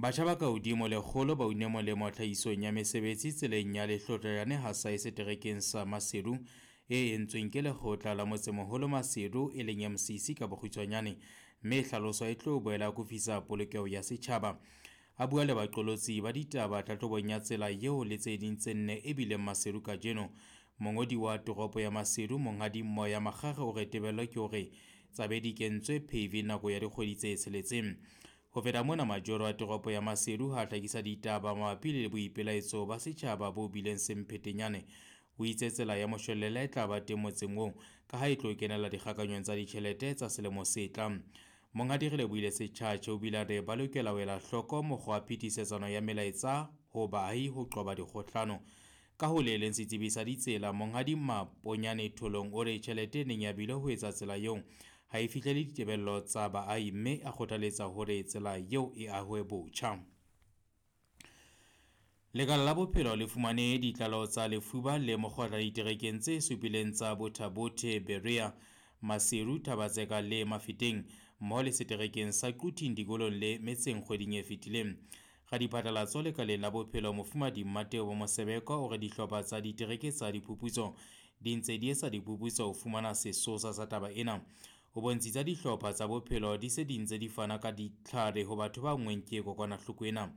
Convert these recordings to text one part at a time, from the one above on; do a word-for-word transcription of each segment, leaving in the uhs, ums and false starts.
Batjha ba kahodimo lekgolo ba une molemo tlhahisong ya mesebetsi tseleng ya Lehlotlanyane Hasae seterekeng sa Maseru e entsweng ke Lekgotla la Motsemoholo Maseru e leng M C C ka bokgutshwanyane, mme e hlaloswa e tlo boela akofisa polokeho ya setjhaba. A bua le baqolotsi ba ditaba tlhahlobong ya tsela eo le tse ding tse nne e bileng Maseru kajeno. Mongodi wa toropo ya Maseru Monghadi Moya Makgakge o re tebello ke hore tsabe di kentswe paving nako ya dikgwedi tse tsheletseng. Ho feta mona, majoro a toropo ya Maseru ha hlakisa ditaba mabapi le boipelaetso ba setjhaba bo bileng semphetenyane. O itse tsela ya moshwelella e tla ba teng motseng oo ka ha e tlo kenella dikgakanyong tsa ditjhelete tsa selemo se tlang. Monghadi Relebohile Setjhatjhe o bile a re ba lokela ho ela hloko mokgwa wa phetisetsano ya melaetsa ho baahi ho qoba dikgohlano. Ka ho le leng setsebi sa ditsela Monghadi Maponyane Tholong o re tjhelete e neng ya bilwe ho etsa tsela eo ha e fihlele ditebello tsa baahi, mme a kgothaletsa hore tsela eo e ahwe botjha. Lekala la bophelo le fumane ditlaleho tsa lefuba le mokgotla diterekeng tse supileng tsa Botha-Bothe, Berea, Maseru, Thaba-Tseka le Mafeteng, mmoho le seterekeng sa Quthing dikolong le metseng kgweding e fetileng. Radiphatlalatso lekaleng la bophelo Mofumahadi Mmatebo Mosebeko o re dihlopha tsa ditereke tsa diphuputso di ntse di etsa diphuputso ho fumana sesosa sa taba ena. O bontshitse dihlopha tsa bophelo di se di ntse di fana ka ditlhare ho batho ba nngweng ke kokwanahloko ena.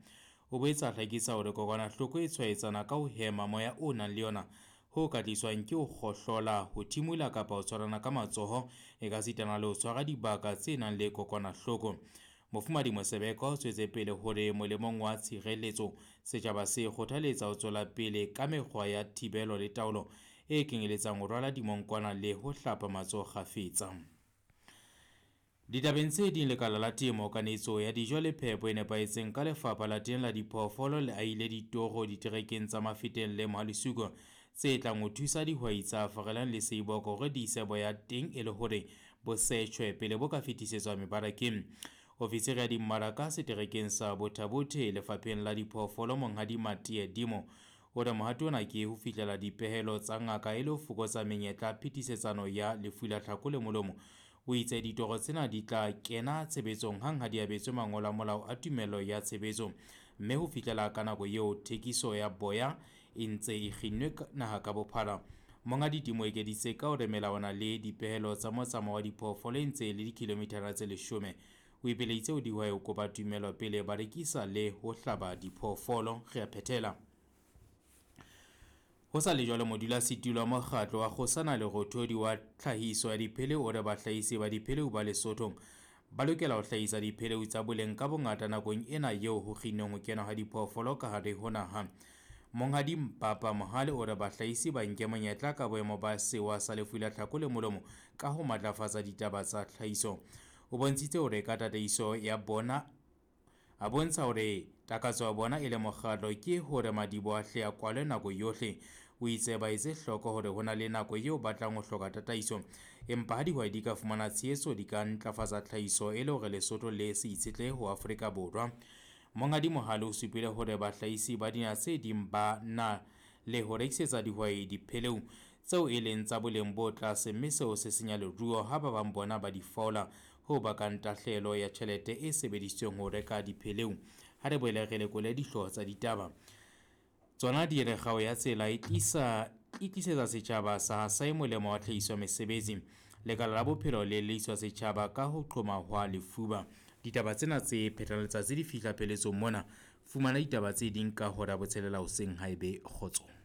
O boetse a hlakisa hore kokwanahloko e tshwaetsana ka ho hema moya o nang le yona, ho ka tliswang ke ho kgohlola, ho thimola kapa ho tshwarana ka matsoho, e ka sitana le ho tshwara dibaka tse nang le kokwanahloko. Mofumahadi Mosebeko o tswetse pele hore molemong wa tshireletso, setjhaba se kgothaletsa ho tswela pele ka mekgwa ya thibelo le taolo e kenyeletsang ho rwala dimonkwana le ho hlapa matsoho kgafetsa. Ditabeng tse ding, lekala la temo, kanetso ya dijo le phepo e nepahetseng ka lefapha la teng la diphoofolo le ahile ditoro diterekeng tsa Mafeteng le Mohalesuko tse tlang ho thusa dihwai tsa Farelang le Seiboko hore di ise boya teng e le hore bo setjhwe pele bo ka fetisetswa mebarakeng. Ofisiri ya dimmaraka seterekeng sa Botha-Bothe lefapheng la diphoofolo Monghadi Matie Dimo o re mohato ona ke ho fihlela dipehelo tsa ngaka e le ho fokotsa menyetla phetisetsano ya lefu la tlhako le molomo. O itse ditoro tsena di tla kena tshebetsong hang ha di abetswe mangolo a molao a tumello ya tshebetso, mme ho fihlela ka nako eo thekiso ya boya e ntse e kginnwe naha ka bophara. Monghadi Dimo o ekeditse ka hore melawana le dipehelo tsa motsamao wa diphoofolo e ntse e le dikilomithara tse leshome. O ipeleditse ho dihwai ho kopa tumello pele ba rekisa le ho hlaba diphoofolo. Re a phethela. Ho sa le jwalo, modulasetulo wa mokgatlo wa Kgosana Lerothodi wa tlhahiso ya dipheleu o re bahlahisi ba dipheleu ba Lesotho ba lokela ho hlahisa dipheleu tsa boleng ka bongata nakong ena eo ho kginnweng ho kenwa ha diphoofolo ka hare ho naha. Monghadi Mpapa Mohale o re bahlahisi ba nke monyetla ka boemo ba sewa sa lefu la tlhako le molomo ka ho matlafatsa ditaba tsa tlhahiso. O bontshitse hore ka tataiso ya bona a bontsha hore takatso ya bona e le mokgatlo ke hore madiboho a hle a kwalwe nako yohle. O itse ba etse hloko hore ho na le nako eo ba tlang ho hloka tataiso, empa ha dihwai di ka fumana tshehetso di ka ntlafatsa tlhahiso e le hore Lesotho le se itshetlehe ho Afrika Borwa. Monghadi Mohale o supile hore bahlahisi ba dinaha tse ding ba na le ho rekisetsa dihwai dipheleu tseo e leng tsa boleng bo tlase, mme seo se senya leruo ha ba bang bona ba di fola, ho bakang tahlehelo ya tjhelete e sebedisitsweng ho reka dipheleu. Ha re boele re lekole dihlooho tsa ditaba. Tsona di re kgao ya tsela e tlisa, e tlisetsa setjhaba sa Hasae molemo wa tlhahiso ya mesebetsi. Lekala la bophelo le leiswa setjhaba ka ho qhoma hwa lefuba. Ditaba tsena tse phethang letsatsi di fihla pheletsong mona. Fumana ditaba tse ding ka hora ya botshelela hoseng haebe kgotso.